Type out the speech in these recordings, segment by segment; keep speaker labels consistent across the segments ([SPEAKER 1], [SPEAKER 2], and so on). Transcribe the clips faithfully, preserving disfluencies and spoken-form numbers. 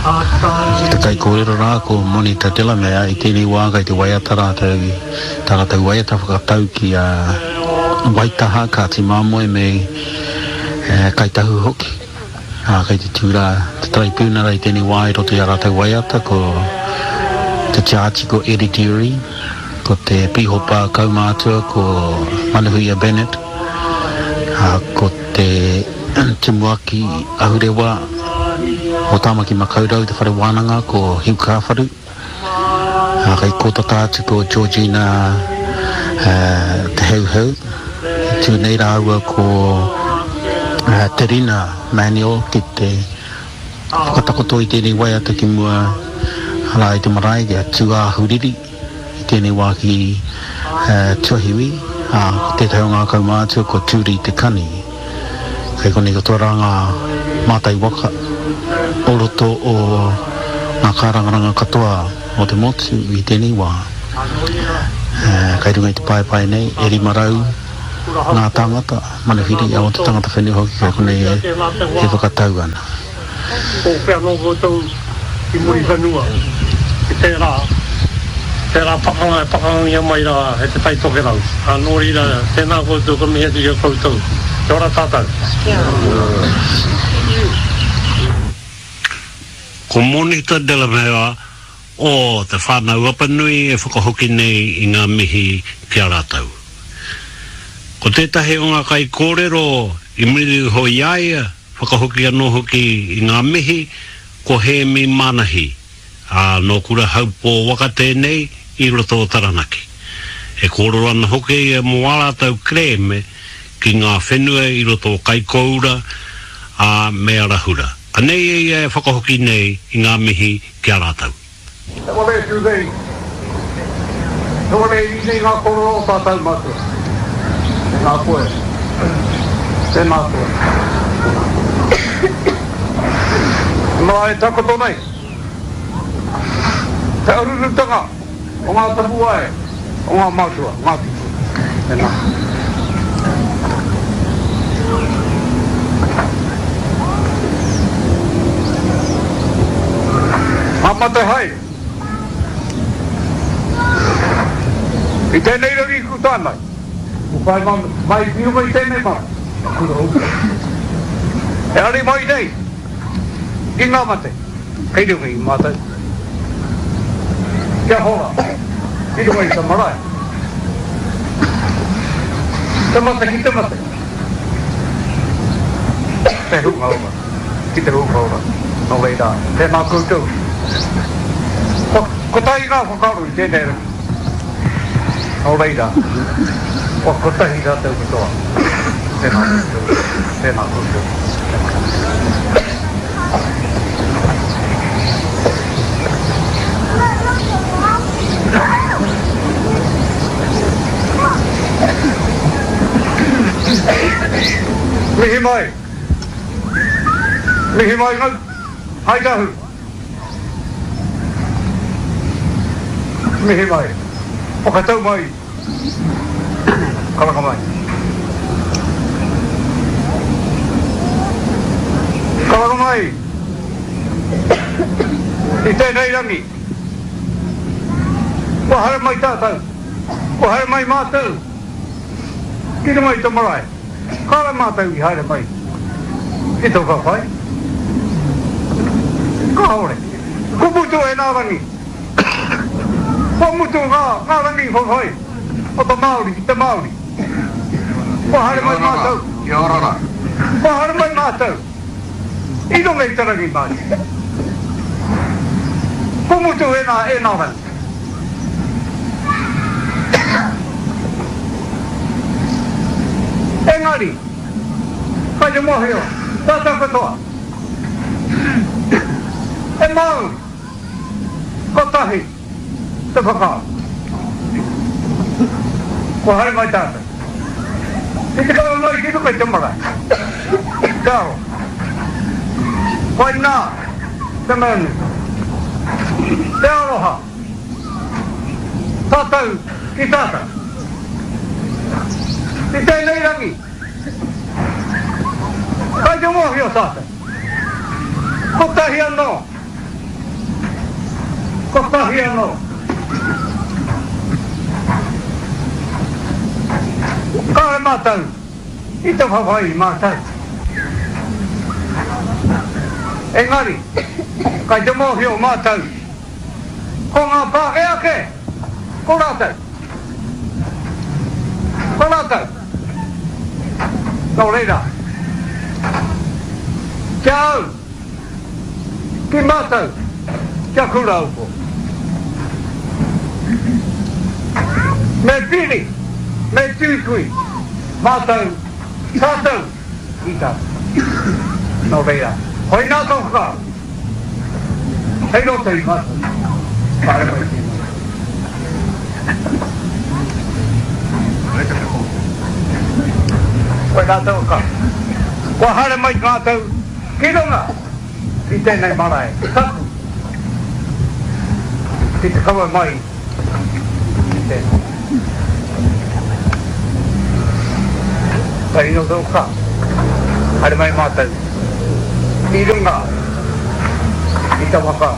[SPEAKER 1] Ko te kaikōrero rā ko Monita Delamere i tēnei wā kei te waiata rātou, tā rātou waiata whakatau ki a Waitaha, Kāti Māmoe me Kāi Tahu hoki. Ā, kei te tū rā te taraipiunara i tēnei wā i roto i a rātou waiata ko te tiāti ko Eddie Durie, ko te pīhopa kaumātua ko Manuhuia Bennett, ā, ko te tumuaki ahurewa o Tāmaki Makaurau te whare wānanga ko Hugh Kāwharu, ā, kei kōtata atu ko Georgina Te Heuheu, e tū nei rāua ko Te Rina Manuel ki te whakatakoto i tēnei waiata ki mua rā i te marae kia tūāhuriri i tēnei wā ki Tuahiwi, ā, ko tētahi o ngā kaumātua ko Turi Te Kani. Kei konei katoa rā ngā mātai waka o roto o ngā kārangaranga katoa o te motu i tēnei wā. Kei runga i te paepae nei e rima rau ngā tāngata, manuhiri o te tangata whenua hoki kei konei e whakatau ana.
[SPEAKER 2] Ko whea nō koutou i Muriwhenua i tērā, tērā pakanga e pakangangia mai rā e Te Tai Tokerau. Ā, nō reira, tēnā koutou, ka mihi atu ki a koutou. Kia ora tātou.
[SPEAKER 3] Kia ora.
[SPEAKER 4] Ko Monita Delamere o Te Whānau Apanui e whakahoki nei i ngā mihi ki a rātou. Ko tētahi o ngā kaikōrero i muri iho i a ia, whakahoki anō hoki i ngā mihi, ko Hēmi Manahi, ā, nō Kura Haupō waka tēnei i roto o Taranaki. E kōrero ana hoki ia mō ā rātou kerēme ki ngā whenua i roto o Kaikōura, ā, me Arahura. Anei e ia e whakahoki nei i ngā mihi ki a rātou.
[SPEAKER 2] He wale tū nei, he wale iri nei ngā korero o tātou matua. Tēnā koe, tēnā koe. He marae takoto nei, te arurutanga o ngā tapuwae o ngā mātua, ngā tūpuna. Tēnā. Ngā mate hai i tēnei rangi ku tānai, ku whai mai ki runga i tēnei marae. E ari mai nei ki ngā mate kei runga i mātou. Kia hora ki runga i te marae. Te mate ki te mate. Te hunga ora ki te hunga ora. Nō reira, tēnā koutou. Kua kotahi ngā whakaaro i tēnei rangi. Nō reira, kua kotahi rātou katoa. Tēnā koutou, tēnā koutou, tēnā koutou. Mihi mai! Mihi mai ngau! Hai tahu! Mihi mai! Whakatau mai! Karanga mai! Karanga mai! I tēnei rangi, kua haere mai tātou, kua haere mai mātou ki runga i te marae. Kāore mātou i haere mai ki tō whawhai. Kāore. Kua mutu ēnā rangi. Kua mutu ngā, ngā rangi whawhai o te Māori ki te Māori. Kua haere mai mātou.
[SPEAKER 5] Kia ora rā.
[SPEAKER 2] Kua haere mai mātou i runga i te rangimārie. Kua mutu ēnā, ēnā rangi. Engari, kai te mōhio, tātou katoa, he Māori kotahi te whakaaro. Kua haere mai tātou ki te kawe mai ki runga i te marae, te aroha. Koinā te mea nui, te aroha. Tātou ki tātou. I tēnei rangi, kai te mōhio tātou, kotahi anō Kotahi anō. Kāre mātou, i te whawhai mātou. Engari, kai te mōhio mātou, ko ngā Pākehā kē, ko rātou. Ko rātou. Nō reira, kia au, ki mātou, kia Kurāupo. Me piri, me tuitui, mātou, tātou, i tātou. Nō reira, hoi nā tō whakaaro, hei roto i mātou, kāre mai tēnei. Hoi nā tō whakaaro. Kua haere mai mātou ki runga i tēnei marae, tapu, ki te kawe mai i tēnei. Kai no tō ka, haere mai mātou, i runga i te waka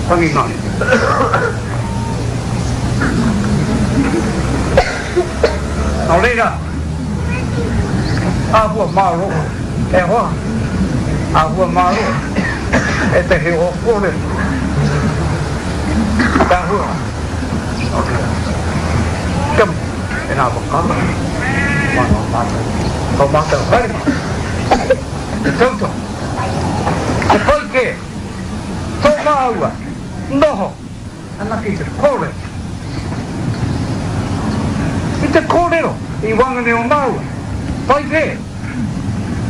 [SPEAKER 2] tangi mai. Nō reira, āhua māro, e hoa, āhua māro, e te heo kōrero. Te āhua, nō reira, kia e nā whakaaro, māno mātou, ko mātou haere mai, te tautohu, te pai kē, tō māua, noho, anake te kōrero. I te kōrero, i wangane o māua, pai kē,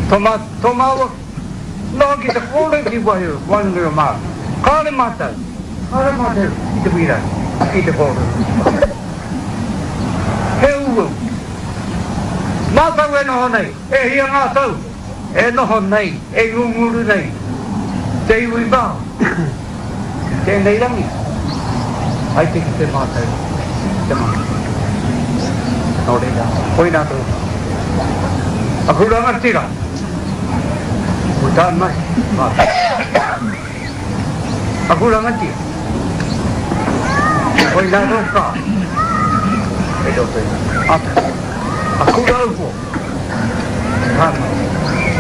[SPEAKER 2] tō, mā, tō māua, noho ki te kōrero ki wahi wangane o māua. Kāre mātou, kāre mātou i te wīrai, i te kōrero. He uau. Mātou e noho nei, e hia ngā tau, e noho nei, e ngunguru nei, te iwi Māori, tēnei rangi, ai te ki te mātou, te mana. Nō reira, koinā tō. Aku rangatira, ko tā mai, mātou. Aku rangatira, koinā tō kā, e roto i ata. Aku raupo, tā mai,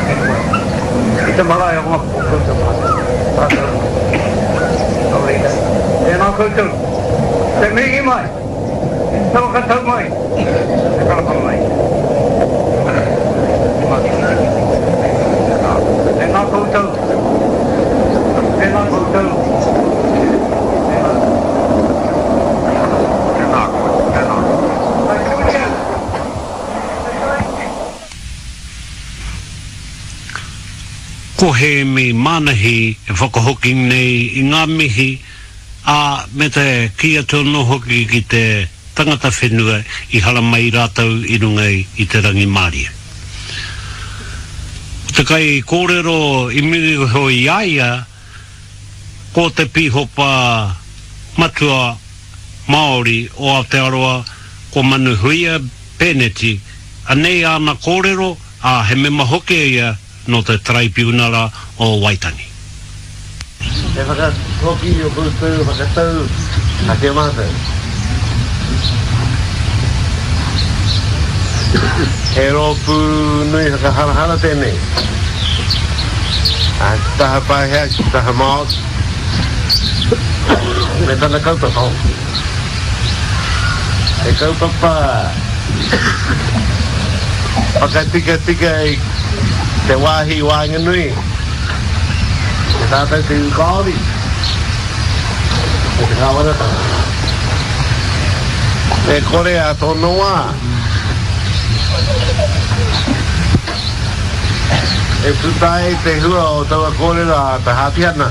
[SPEAKER 2] e koe. I te marae o ngā o koutou mātou, tātou. Nō reira, tēnā koutou, te mihi mai, te whakatau mai, te karapa mai. Tēnā koutou, tēnā koutou, tēnā.
[SPEAKER 3] Tēnā koe, tēnā.
[SPEAKER 4] Ko Hēmi Manahi e whakahoki nei i ngā mihi, a me te ki atu anō hoki ki te tangata whenua i haramai rātou i runga i te rangimārie. Ko te kai kōrero i muri iho i a ia, ko te pīhopa matua Māori o Aotearoa, ko Manuhuia Pēneti, anei āna kōrero, a he mema hoki ia nō te Taraipiunara o Waitangi.
[SPEAKER 5] He whakahoki o koutou whakatau a te mātou. He rōpū nui whakaharahara tēnei. A te taha Pākehā, ki te taha Māori, me tana kaupapa. He kaupapa whakatikatika i te wāhi waenganui, te tātou te iwi Māori, me te kāwanatanga. Me kore a tōna wā, e puta ai te hua o taua kōrero a te Hāpihana.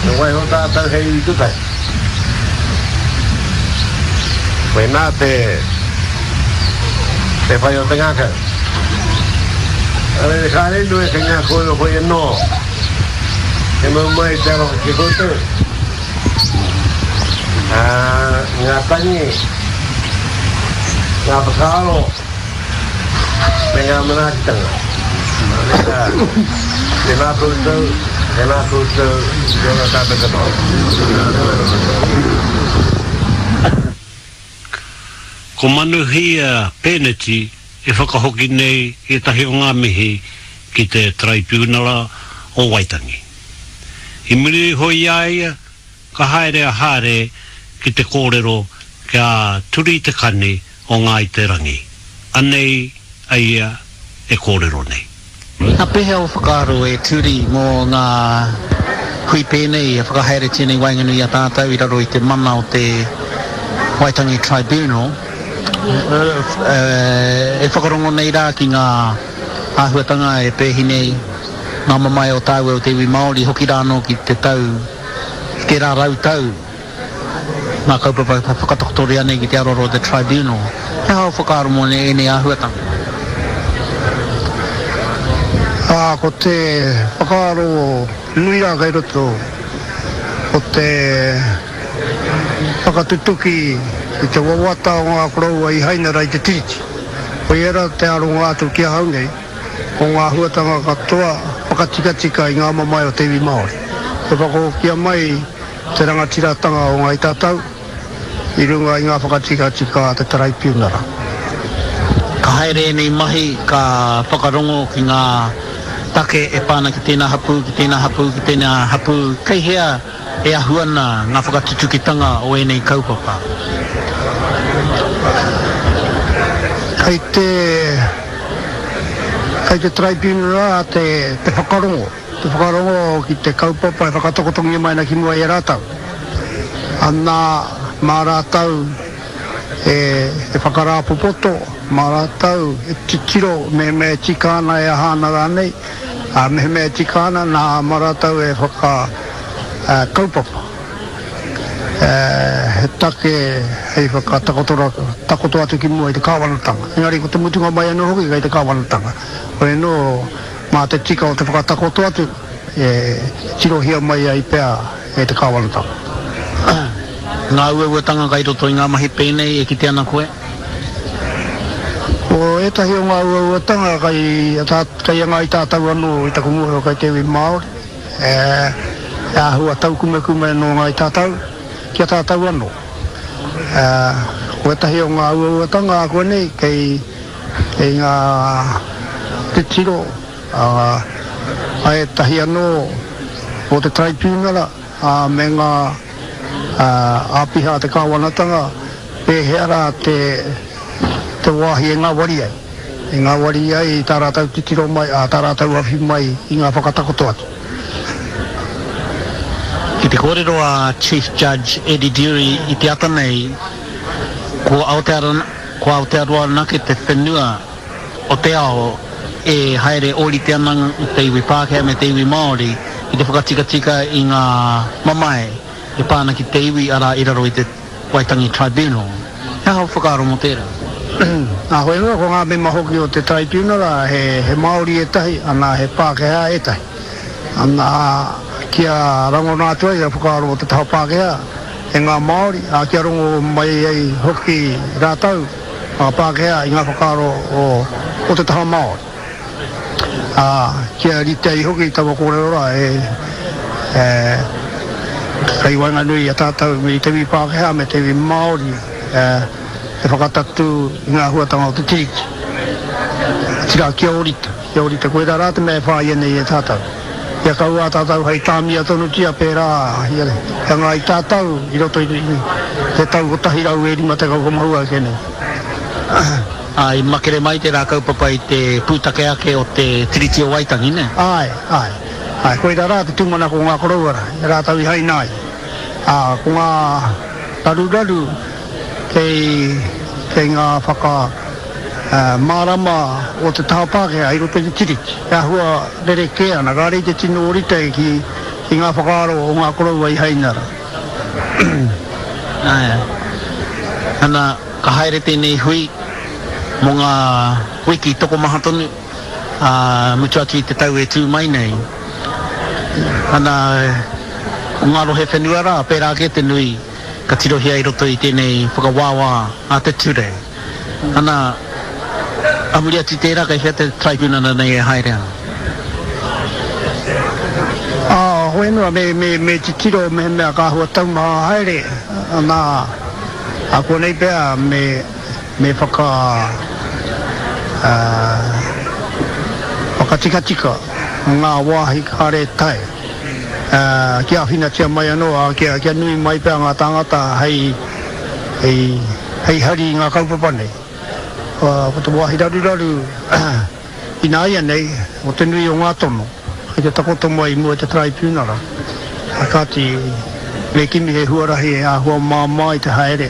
[SPEAKER 5] Me waiho tātou hei iwi kotahi. Koinā te te whai o te ngākau. Arere kāre nui kei ngā kōrero hoi anō. He mau mai te aroha ki koutou. Ā, ngā tangi, ngā whakaaro, me ngā manaakitanga. Nā reira, tēnā koutou, Tēnā koutou, kia ora tātou katoa.
[SPEAKER 4] Ko Manuhia Pēneti e whakahoki nei ētahi o ngā mihi ki te Taraipiunara o Waitangi. I muri iho i a ia, ka haere a Hāre ki te kōrero ki a Turi Te Kani o Ngāi Te Rangi. Anei a ia e kōrero nei.
[SPEAKER 1] Ka pēhea ō whakaaro e Turi mō ngā hui pēnei e whakahaeretia nei waenganui i a tātou i raro i te mana o te Waitangi Tribunal e whakarongo nei rā ki ngā āhuatanga e pēhi nei ngā mamae o tāua o te iwi Māori hoki rā anō ki te tau, ki tērā rau tau ngā kaupapa e whakatakotoria nei ki te aroaro o te Tribunal. He aha ō whakaaro mō ēnei āhuatanga?
[SPEAKER 3] Ā, ko te whakaaro nui rā kei roto, ko te whakatutuki i te wawata o ngā koroua i haina rā i te Tiriti. Koia rā te aronga atu ki ahau nei, o ngā āhuatanga katoa whakatikatika i ngā mamae o te iwi Māori. Kia whakahokia mai te rangatiratanga o Ngāi Tātou i runga i ngā whakatikatika a te Taraipiunara.
[SPEAKER 1] Ka haere ēnei mahi, ka whakarongo ki ngā take e pā ana ki tēnā hapū, ki tēnā hapū, ki tēnā hapū. Kei hea e ahu ana ngā whakatutukitanga o ēnei kaupapa?
[SPEAKER 3] Kei te, kei te Taraipiunara te, te whakarongo. Te whakarongo ki te kaupapa e whakatakotongia mai ana ki mua i a rātou. Ana, mā rātou e, e whakarāpopoto, mā rātou e titiro mehemea e tika ana, e aha ana rānei, ā, mehemea e tika ana, nā, mā rātou e whaka, ā, kaupapa. Ā, he take hei whakatakoto takoto atu ki mua i te kāwanatanga. Engari ko te mutunga mai anō hoki kei te kāwanatanga. Hoi anō, Mā te tika o te whakatakoto atu e tirohia mai ai pea e te kāwanatanga.
[SPEAKER 1] Ngā uauatanga kai roto i ngā mahi pēnei e kite ana koe?
[SPEAKER 3] Ko ētahi o ngā uauatanga kai kai a Ngāi Tātou anō i taku mōhio kai te iwi Māori, e āhua taukumekume nō Ngāi Tātou ki a tātou anō. Ko ētahi o ngā uauatanga ākuanei kei Kei ngā titiro a ētahi anō o te Taraipiunara me ngā āpiha a te kāwanatanga pēhea rā te wāhi e ngāwari ai, e ngāwari ai tā rātou titiro mai, ā, tā rātou awhi mai i ngā whakatakoto atu.
[SPEAKER 1] Ki te kōrero a Chief Judge Eddie Durie i te ata nei, ko Aotearoa, Ko Aotearoa anake te whenua o te ao e haere ōrite ana te iwi Pākehā me te iwi Māori ki te whakatikatika i ngā mamae e pā ana ki te iwi, arā, i raro i te Waitangi Tribunal. He aha ō whakaaro mō tērā?
[SPEAKER 3] Nā, hoi anō, ko ngā mema hoki o te Tribunal, he Māori ētahi, ana, he Pākehā ētahi. Ana, kia rangona atu ai a whakaaro o te taha Pākehā, e ngā Māori, ā, kia rongo mai ai hoki rātou, ngā Pākehā, i ngā whakaaro o, o te taha Māori. Ā, kia rite ai hoki taua kōrero rā e, e, kei waenganui i a tātou i te iwi Pākehā me te iwi Māori, e, te whakatatū i ngā āhuatanga o te Tiriti. Otirā, kia ōrite, kia ōrite, koirā rā te mea e whāia nei e tātou. Kia kaua a tātou hei tāmia tonutia pērā i a Ngāi Tātou i roto i te tau kotahi rau e rima tekau kua mahua ake nei.
[SPEAKER 1] Ā, i makere mai tērā kaupapa i te pūtake ake o te Tiriti o Waitangi, nē?
[SPEAKER 3] Āe, āe. Āe, koirā rā te tūmanako o ngā koroua rā, i a rātou i haina ai. Ā, ko ngā raruraru kei, kei ngā whaka. Mārama o te taha Pākehā i roto i te Tiriti. E āhua rerekē ana, kāre i te tino ōrite ki ngā whakaaro o ngā koroua i haina rā.
[SPEAKER 1] Āe. Ana, ka haere tēnei hui mō ngā wiki tokomaha tonu, ā, mutu atu i te tau e tū mai nei. Ana, ko ngā rohe whenua rā, pērā kē te nui ka tirohia i roto i tēnei whakawāwā a te ture. Ana, a muri atu i tērā, kei whea te tribunal nei e haere ana?
[SPEAKER 3] Ā, Hoi anō, me, me, me titiro mehemea ka āhua taumaha haere, nā, ākuanei pea me, me whaka, uh, whakatikatika ngā wāhi kāre tae, uh, kia āwhinatia mai anō, ā, kia, kia nui mai pea ngā tāngata hei, hei, hei hari i ngā kaupapa nei. Uh, ko te wāhi raruraru ināianei, o te nui o ngā tono, kei te takoto mai i mua i te taraipiunara. A kāti, me kimi he huarahi e āhua māmā i te haere,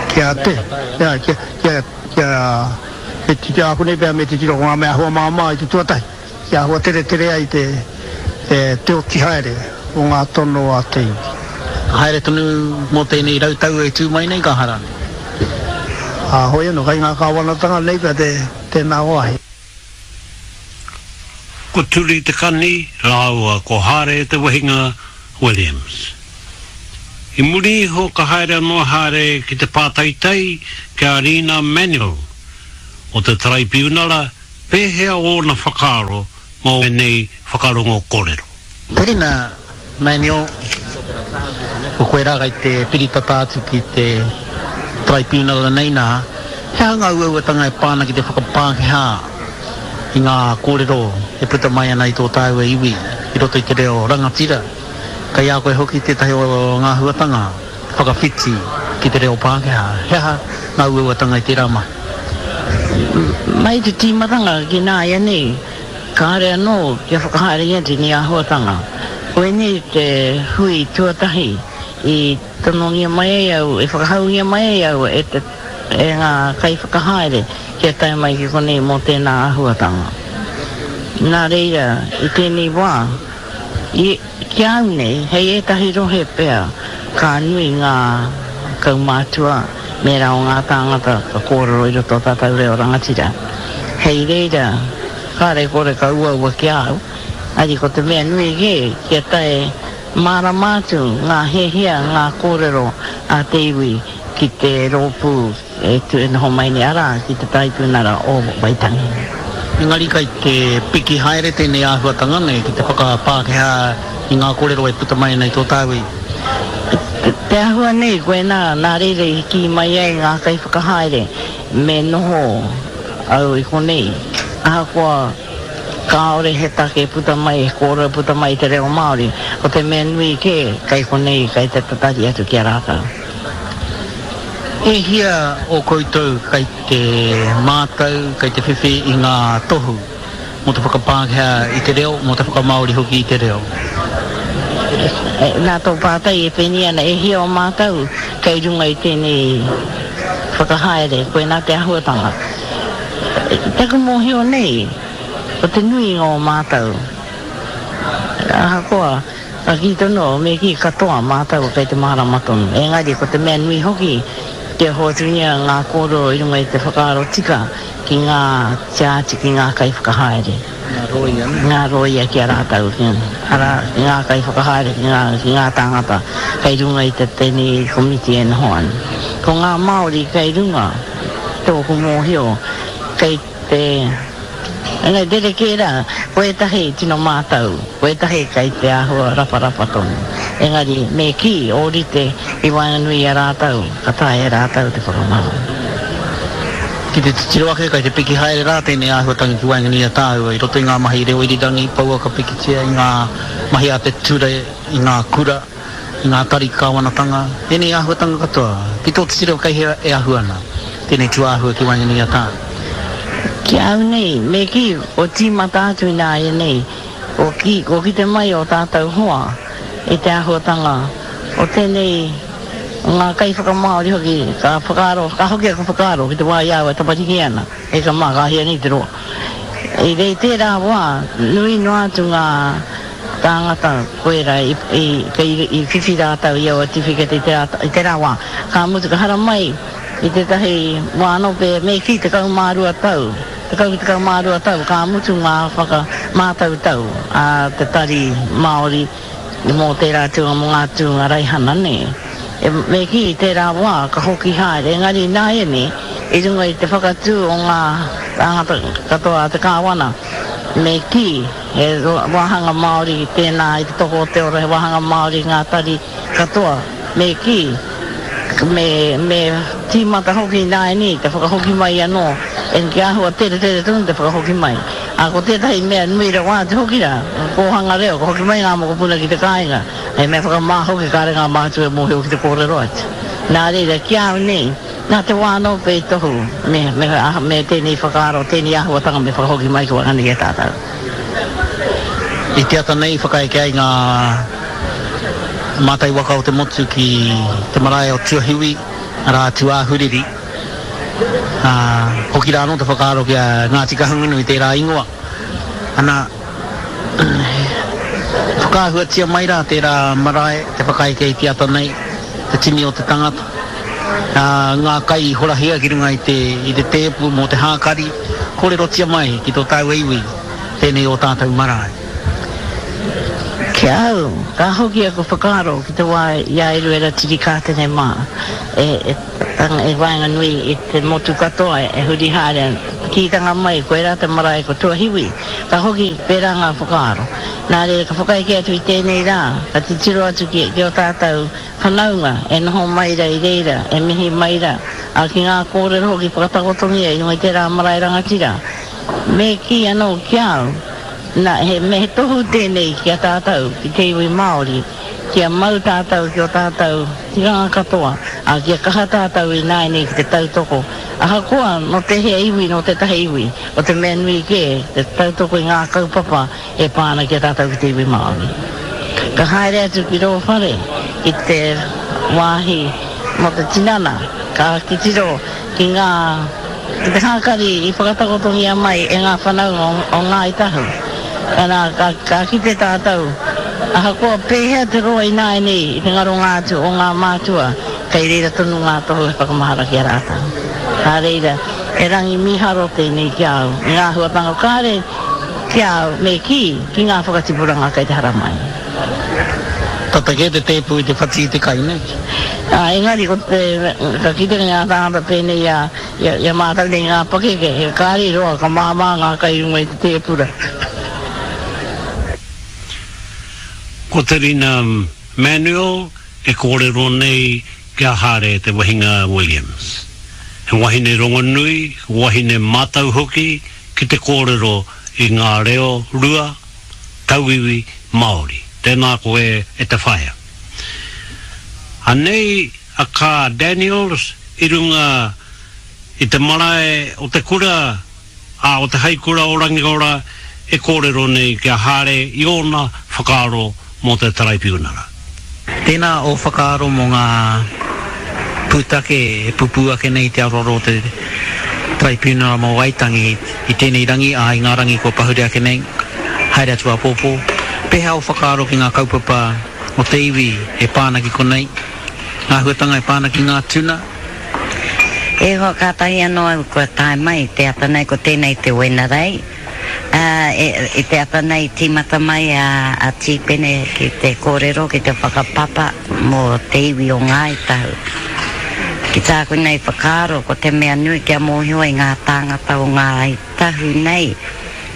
[SPEAKER 3] kia te, kia, kia, kia, kia, me titiro, ākonei pea me titiro ko ngā mea āhua māmā i te tuatahi, kia āhua teretere ai te, te, te oti haere o ngā tono a te iwi.
[SPEAKER 1] Haere tonu mō tēnei rau tau e tū mai nei ka hara nei.
[SPEAKER 3] Ā, hoi anō, kei ngā kāwanatanga nei pea te, tēnā wāhi.
[SPEAKER 4] Ko Turi Te Kani rāua ko Hāre Te Wehinga Williams. I muri iho ka haere anō a Hāre ki te pātaitai ki a Rina Manuel o te Taraipiunara pēhea ōna whakaaro mō ēnei whakarongo kōrero.
[SPEAKER 1] Rina Manuel, ko koe rā kei te piritata atu ki te Taraipiunara nei nā, he aha ngā uauatanga e pā ana ki te whakapākehā i ngā kōrero e puta mai ana i tō tāua iwi i roto i te reo rangatira? Kei a koe hoki tētahi o ngā huatanga whakawhiti ki te reo Pākehā. He aha ngā uauatanga i tērā mahi?
[SPEAKER 6] Mai te tīmatanga ki nāianei, kāore anō kia whakahaerengia tēnei āhuatanga. Koinei te hui tuatahi i tonongia mai ai au, i whakahaungia mai ai au e te, e ngā kaiwhakahaere kia tae mai ki konei mō tēnā āhuatanga. Nā reira, i tēnei wā, i, ki a au nei, hei ētahi rohe pea, ka nui ngā kaumātua me rā o ngā tāngata ka kōrero i roto o tātou reo rangatira. Hei reira, kāre kore ka uaua ki a au, ari ko te mea nui kē, kia tae mārama atu ngā hiahia, ngā kōrero a te iwi ki te rōpū e tū e noho mai nei, arā, ki te Taraipiunara o Waitangi.
[SPEAKER 1] Engari kai te piki haere tēnei āhuatanga nei ki te whakapākehā i ngā kōrero e puta mai ana i tō tāua iwi.
[SPEAKER 6] Te āhua nei, koinā, nā reira i kī mai ai ngā kaiwhakahaere me noho au i konei, ahakoa kāore he take puta mai, he kōrero puta mai i te reo Māori, ko te mea nui kē, kei konei, kei te tatari atu ki a rātou.
[SPEAKER 1] E hia o koutou kei te mātau, kei te whiwhi i ngā tohu mō te whakapākehā i te reo, mō te whakamāori hoki i te reo?
[SPEAKER 6] Nā tō pātai e pēnei ana, e hia o mātou kei runga i tēnei whakahaere, koinā te āhuatanga. Taku mōhio nei, ko te nuinga o mātou, ahakoa ka kī tonu au, me kī katoa mātou kei te mārama tonu. Engari ko te mea nui hoki, kia hoatungia ngā kōrero i runga i te whakaaro tika ki ngā tiāti, ki ngā kaiwhakahaere.
[SPEAKER 1] Ngā rōia, nē?
[SPEAKER 6] Ngā rōia ki a rātou, arā, ki ngā kaiwhakahaere, ki ngā, ki ngā tāngata kei runga i te tēnei komiti e noho ana. Ko ngā Māori kei runga, tōku mōhio, kei te, engari rerekē rā, ko ētahi tino mātau, ko ētahi kei te āhua raparapa tonu. Engari, me kī, ōrite i waenganui i a rātou, ka taea e rātou te whakamāori.
[SPEAKER 1] Ki te titiro ake, kei te piki haere rā tēnei āhuatanga ki waenganui i a tāua i roto i ngā mahi reo irirangi, pouaka pikitia, i ngā mahi a te ture, i ngā kura, i ngā tari kāwanatanga, ēnei āhuatanga katoa. Ki tō titiro kei hea e ahu ana tēnei tūāhua ki waenganui i a tāua?
[SPEAKER 6] Ki a au nei, me kī, kua tīmata atu ināianei, kua kī, kua kite mai ō tātou hoa i te āhuatanga o tēnei, ngā kaiwhakamāori hoki, ka whakaaro, ka hoki aku whakaaro ki te wā i a au e tamariki ana, e ka mā, ka hia nei te roa. I rei tērā wā, nui noa atu ngā tāngata koirā i, i, kei, i whiwhi rātou i aua tiwhikete i tērā, i tērā wā. Ka mutu, ka haramai i tētahi wā anō pea, me kī tekau mā rua tau, tekau ki tekau mā rua tau, ka mutu ngā whakamātautau a te Tari Māori mō tērā tūnga, mō ngā tūnga raihana, nē. E, me kī, i tērā wā ka hoki haere, engari ināianei, i runga i te whakatū o ngā tāngata katoa a te Kāwana, Me kī, he wāhanga Māori tēnā i te toko o te ora, he wāhanga Māori ngā tari katoa. Me kī, me, me tīmata hoki ināianei te whakahoki mai anō, e ki āhua teretere tonu te whakahoki mai. Ā, ko tētahi mea nui rawa atu hoki rā, kōhanga reo, ka hoki mai ngā mokopuna ki te kāinga, hei mea whakamā hoki kāre ngā mātua e mōhio ki te kōrero atu. Nā reira, ki a au nei, nā te wā anō pea i tohu me, me, me tēnei whakaaro, tēnei āhuatanga me whakahoki mai ki waenganui i a tātou.
[SPEAKER 1] I te ata nei i whakaeke ai ngā mātai waka o te motu ki te marae o Tuahiwi, arā, Tūāhuriri. Ā, hoki rā anō te whakaaro ki a Ngāti Kahungunu i tērā ingoa. Ana, whakaahuatia mai rā tērā marae te whakaeke i te ata nei, te tini o te tangata. Ā, ngā kai i horahia ki runga i te, i te tēpu mō te hākari, kōrerotia mai ki tō tāua iwi tēnei ō tātou marae.
[SPEAKER 6] Ki a au, ka hoki aku whakaaro ki te wā i a Eruera Tirikātene mā e, e i waenganui i te motu katoa e huri haere ana. Kītanga mai, koirā te marae ko Tuahiwi. Ka hoki pērā ngā whakaaro. Nā reira, ka whakaeke atu i tēnei rā, ka titiro atu ki, ki ō tātou whanaunga e noho mai rā i reira, e mihi mai rā, ā, ki ngā kōrero hoki whakatakotongia i runga i tērā marae rangatira. Me kī anō ki a au, nā, he, me he tohu tēnei ki a tātou, ki te iwi Māori, kia mau tātou ki ō tātou tikanga katoa, ā, kia kaha tātou ināianei ki te tautoko, ahakoa nō tēhea iwi, nō tētahi iwi, ko te mea nui kē, te tautoko i ngā kaupapa e pā ana ki a tātou ki te iwi Māori. Ka haere atu ki rō whare, ki te wāhi mō te tinana, ka titiro ki ngā. Ki te hākari i whakatakotongia mai e ngā whanaunga o Ngāi Tahu. Arā, ka, ka kite tātou, ahakoa pēhea te roa ināianei i te ngaronga atu o ngā mātua, kei reira tonu ngā tohu e whakamahara ki a rātou. Nā reira, he rangi mīharo tēnei ki a au, i ngā āhuatanga kāre ki a au, me kī, ki ngā whakatipuranga kei te haramai.
[SPEAKER 1] Tata kē te tēpu i te whati i te kai, nē?
[SPEAKER 6] Ā, engari ko te, ka kite ngā tāngata pēnei i a, i a mātou nei ngā pakeke, he kāri roa ka māmā ngā kai i runga i te tēpura.
[SPEAKER 4] Ko Te Rina Manuel e kōrero nei ki a Hāre Te Wehinga Williams. He wahine rongonui, wahine mātau hoki ki te kōrero i ngā reo rua, tauiwi Māori. Tēnā koe e te whaea. Anei a Kaa Daniels i runga i te marae o te kura, ā, o te Haikura o Rangiora e kōrero nei ki a Hāre i ōna whakaaro mō te Taraipiunara.
[SPEAKER 1] Tēnā ō whakaaro mō ngā pūtake e pupū ake nei i te aroaro o te Taraipiunara mō Waitangi i tēnei rangi, ā, i ngā rangi kua pahure ake nei, haere atu āpōpō. Pēhea ō whakaaro ki ngā kaupapa o te iwi e pā ana ki konei, ngā āhuatanga e pā ana ki ngā tuna?
[SPEAKER 7] E hoa, kātahi anō au kua tae mai te ata nei, ko tēnei te Wenerei. Ā, e, i te ata nei i tīmata mai a, a Tīpene ki te kōrero, ki te whakapapa mō te iwi o Ngāi Tahu. Ki tāku nei whakaaro, ko te mea nui kia mōhio ai ngā tāngata o Ngāi Tahu nei,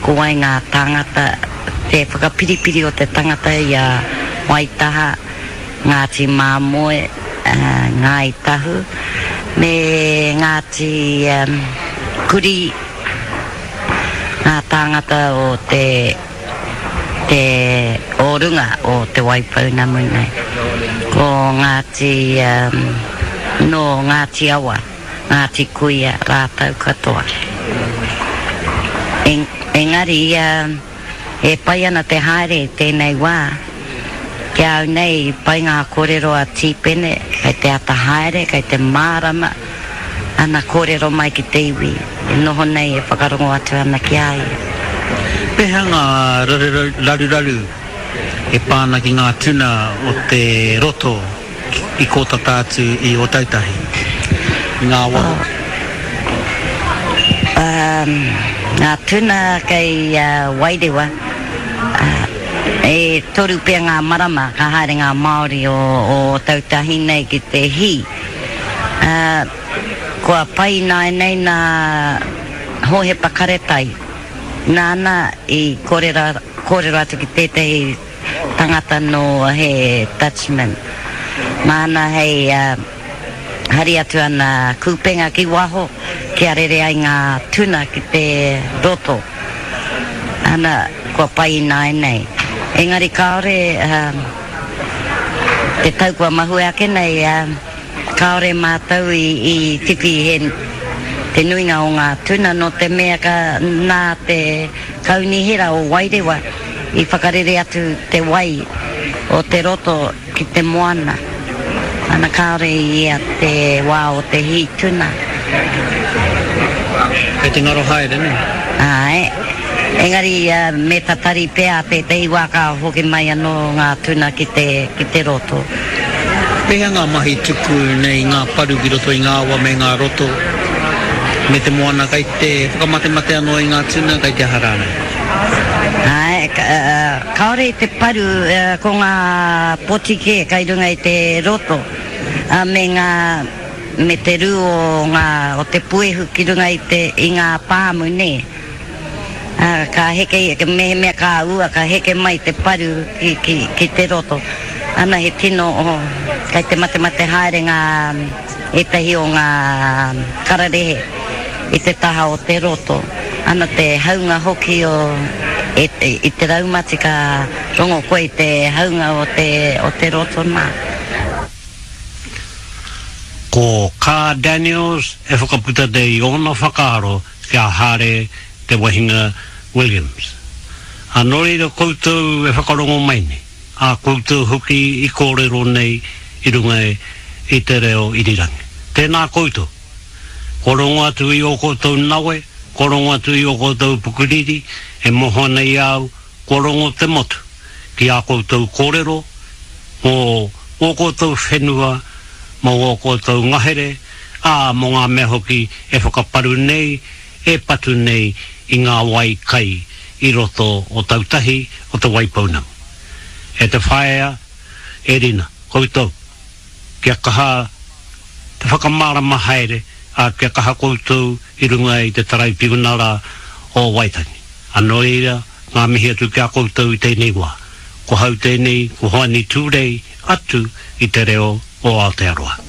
[SPEAKER 7] ko wai ngā tāngata, te whakapiripiri o te tangata i a Waitaha, Ngāti Māmoe, Ngāi Tahu, me Ngāti Kurī, ngā tāngata o te te o runga o Te Waipounamu nei. Ko Ngāti, nō Ngāti Awa, Ngāti Kuia rātou katoa. Engari ia. E pai ana te haere i tēnei wā. Ki a au nei, i pai ngā kōrero a Tīpene, kei te ata haere, kei te mārama ana kōrero mai ki te iwi e noho nei e whakarongo atu ana ki a ia.
[SPEAKER 1] Pēhea ngā raruraru e pā ana ki ngā tuna o te roto i kō tata atu i Ōtautahi, i ngā awa hoki?
[SPEAKER 7] Ngā tuna kei Wairewa, e toru pea ngā marama ka haere ngā Māori o Ōtautahi nei ki te hī. Kua pai ināianei nā Hōhepa Karetai Nāna i kōrero, kōrero atu ki tētahi tangata nō he Dutchman. Māna hei uh, hari atu ana kūpenga ki waho kia rere ai ngā tuna ki te roto. Ana, kua pai ināianei. Engari kāore uh, te tau kua mahue ake nei, uh, kāore mātou i, i whiwhi he te nuinga o ngā tuna nō te mea ka nā te kaunihera o Wairewa i whakarere atu te wai o te roto ki te moana. Ana kāore i ea te wā o te hī tuna.
[SPEAKER 1] Kei te ngaro haere, nē?
[SPEAKER 7] Āe. Engari me tatari pea tētahi wā ka hoki mai anō ngā tuna ki te, ki te roto.
[SPEAKER 1] Pēhea ngā mahi tuku nei ngā paru ki roto i ngā awa me ngā roto me te moana kei te whakamatemate anō i ngā tuna, kei te aha rānei?
[SPEAKER 7] Āe, kāore i te paru, ko ngā poti kē kei runga i te roto, me ngā, me te rū o ngā, o te puehu ki runga i te, i ngā pāmu, nē. Ā, ka heke, mehemea ka ua, ka heke mai te paru ki, ki, ki te roto. Ana he tino, oh, kei te matemate haere ngā, ētahi o ngā kararehe i te taha o te roto. Ana te haunga hoki o, e, i te raumati ka rongo koe i te haunga o te, o te roto nā.
[SPEAKER 4] Ko Kaa Daniels e whakaputa nei i ōna whakaaro ki a Hare Te Wahinga Williams. Ā, nō reira koutou e whakarongo mai nei, ā koutou hoki i kōrero nei i runga i te reo irirangi. Tēnā koutou. Kua rongo atu i ō koutou nawe, kua rongo atu i ō koutou pukuriri, e moho ana i a au, kua rongo te motu ki ā koutou kōrero mō ō koutou whenua, mō ō koutou ngahere, ā, mō ngā mea hoki e whakaparu nei, e patu nei i ngā wai kai i roto o Tautahi o Te Waipounamu. E te whaea, e Rina, koutou, kia kaha te whakamārama haere, ā, kia kaha koutou i runga i te Taraipiunara o Waitangi. Ā, nō reira, ngā mihi atu ki a koutou i tēnei wā. Ko hau tēnei, ko Hoani Tūrei atu i te reo o Aotearoa.